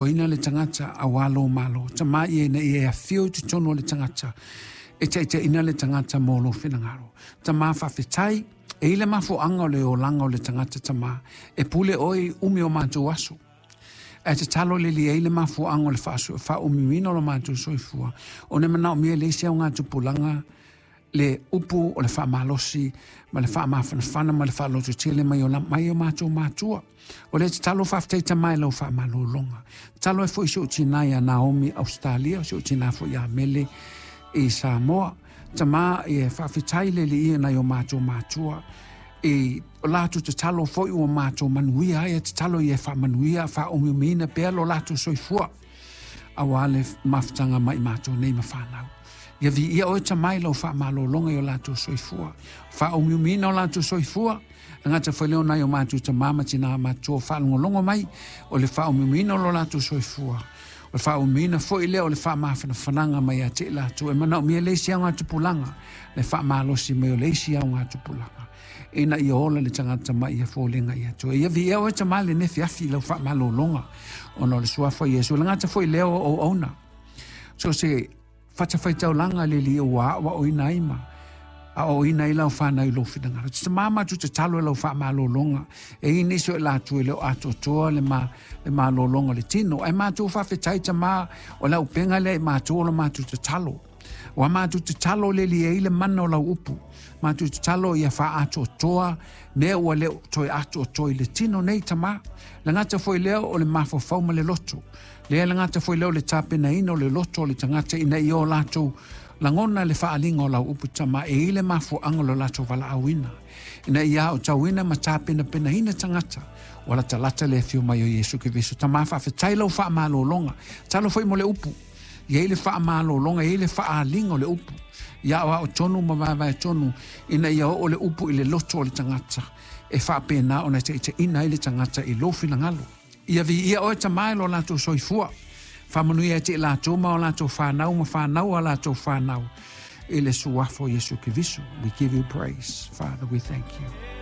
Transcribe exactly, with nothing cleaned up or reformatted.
Ina le tagata auā lō Malo. Tamā ia ina ia e afio i totonu o le tagata, e taitaiina le tagata mo lou finagalo. Tamā faafetai, e i ai le mafuaaga o le olaga o le tagata tamā, e pule oe i umi o matou aso. Ae tatalo le Alii e i ai le mafuaaga o le faaumiumiina o lo matou soifua, ona e manaomia e le isi augatupulaga le upu o le faamalosi ma le faamafanafana ma le faalototele mai o mai o matou matua. O le tatalo faafetai tamā i lau faamalologa. Tatalo ai foi si ou tinā ia Naomi Ausetalia, si ou tinā foi ia Mele i Samoa. Tamā e faafetai le Alii i nai o matou matua. I o latou tatalo foi ua matou manuia ai, e tatalo ia e faamanuia, faaumiumiina pea lo latou soifua. Auā le mafutaga mai matou nei ma fanau. Ia viia oe tamā i lau faamalologa i o latou soifua. Faaumiumiina o latou soifua, e gata foi lea o nai o matou tamā ma tinā matutua faalogologo mai, o le faaumiumiina o lo latou soifua. O le faaumiumiina foi lea o le faamafanafanaga mai ia te i latou. E manaomia le isi augatupulaga, le faamalosi mai o le isi augatupulaga. Ina ia ola le tagata mai ia foliga i Atua. Ia viia oe tamā i lenei afiafi i lau faamalologa, ona o le suafa o Iesu. E le gata foi lea o auauna. So se fatafaitaulaga le Alii ua aoaoina ai ma aoaoina ai lau fanau i lou finagalo. Tamā matou tatalo i lau faamalologa. E i ai nisi o i latou e le o atoatoa le, ma, le malologa o le tino. Ae matou faafetai tamā o le auupega lea i matou o le matou tatalo. Ua matou tatalo le Alii e i ai le mana o lau upu. Matou tatalo ia faaatoatoa mea ua le o toe atoatoa i le tino nei tamā. Le gata foi lea o le mafaufau ma le loto. Lea le gata foi lea o le tapenaina o le loto o le tagata ina ia o latou lagona le faaaliga o lau upu tamā e i ai le mafuaaga o lo latou valaauina. Ina ia aotauina ma tapenapenaina tagata ua latalata le afio mai o Iesu Keriso. Tamā faafetai lau faamalologa. Tatalo foi mo le upu. Ia i ai le faamalologa, ia i ai le faaaliga o le upu. Ia aoao tonu ma vaevae tonu ina ia oo le upu i le loto o le tagata e faapena ona taitaiina ai le tagata i lou finagalo. Ia viia oe tamā i lo latou soifua. Faamanuia ia te i latou ma o latou fanau ma fanau a latou fanau i le suafa o Iesu Keriso. We give you praise. Father, we thank you.